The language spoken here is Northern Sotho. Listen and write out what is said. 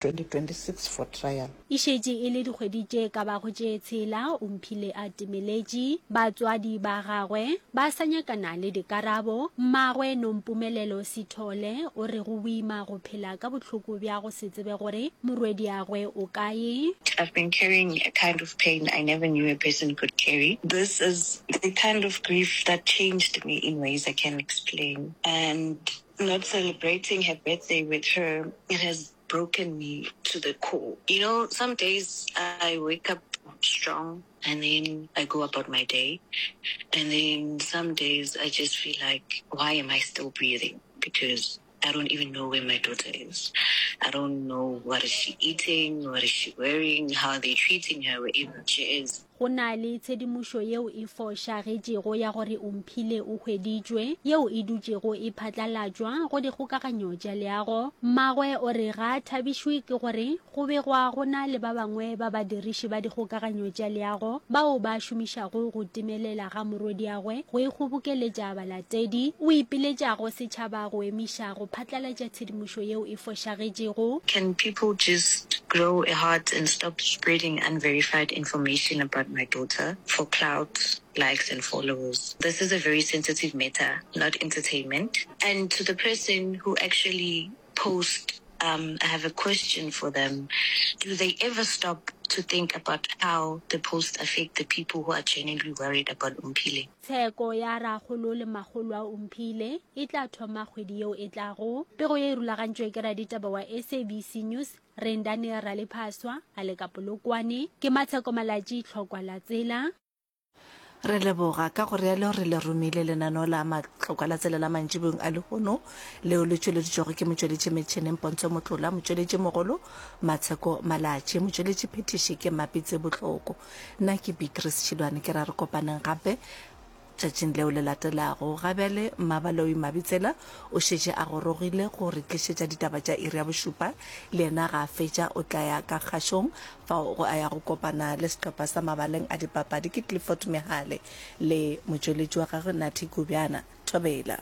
2026 for trial. E šetše e le dikgwedi tše ka bago tše tshela Omphile a timeletše. Batswadi ba gagwe ba sa nyakana le dikarabo. Mmagwe Nompumelelo Sithole o re go boima go phela ka bohloko bja go se tsebe gore morwediagwe o kae. I've been carrying a kind of pain I never knew a person could carry. This is the kind of grief that changed me in ways I can't explain. And not celebrating her birthday with her, it has broken me to the core. You know, some days I wake up strong and then I go about my day. And then some days I just feel like, why am I still breathing? Because I don't even know where my daughter is. I don't know what is she eating, what is she wearing, how are they treating her wherever she is. Go na le tshedimošo yeo e fošagetšego ya gore Omphile o hweditšwe, yeo e dutšego e phatlalatšwa go dikgokaganyo tša leago. Mmagwe o re ga a thabišwe ke gore go begwa go na le ba bangwe ba badiriši ba dikgokaganyo tša leago bao ba šomišago go timelela ga morwediagwe go ikgobokeletša balatedi. O ipiletša go setšhaba go emiša go phatlalatša tshedimošo yeo e fošagetšego. Can people just grow a heart and stop spreading unverified information about my daughter for clout, likes and followers. This is a very sensitive matter, not entertainment. And to the person who actually post um, I have a question for them. Do they ever stop to think about how the posts affect the people who are genuinely worried about Omphile? Tsheko ya rakgolo le makgolo a Omphile e tla thoma kgwedi yeo e tlago. Pego ye e rulagantšwe ke raditaba wa SABC News Rendani Ralephaswa a le ka Polokwane. Ke Matsheko Malatji, Tlhokwa la Tsela. Re leboga ka go realo re le romile lenaneo la Matlokwa la Tsela la mantšiboeng a lehono leo le tšweleditšwego ke motšweletši metšheneng Pontsho Motlola, motšweletši mogolo Matsheko Malatji, motšweletši phethiši ke Mapitsi Bohloko. Nna ke Beatrice Tšhilwane ke ra re kopaneng gape Tšatšing leo le latelago, ga bjale Mmabaloi Mabitsela o šetše a gorogile go re tlišetša ditaba tša iri ya bošupa. Le yena ga a fetša o tla ya ka kgašong fao go a ya go kopana le sehlopha sa mabaleng a dipapadi ke Clifford Mehale le motšweletši wa gagwe Nathi Gubjana. Thobela.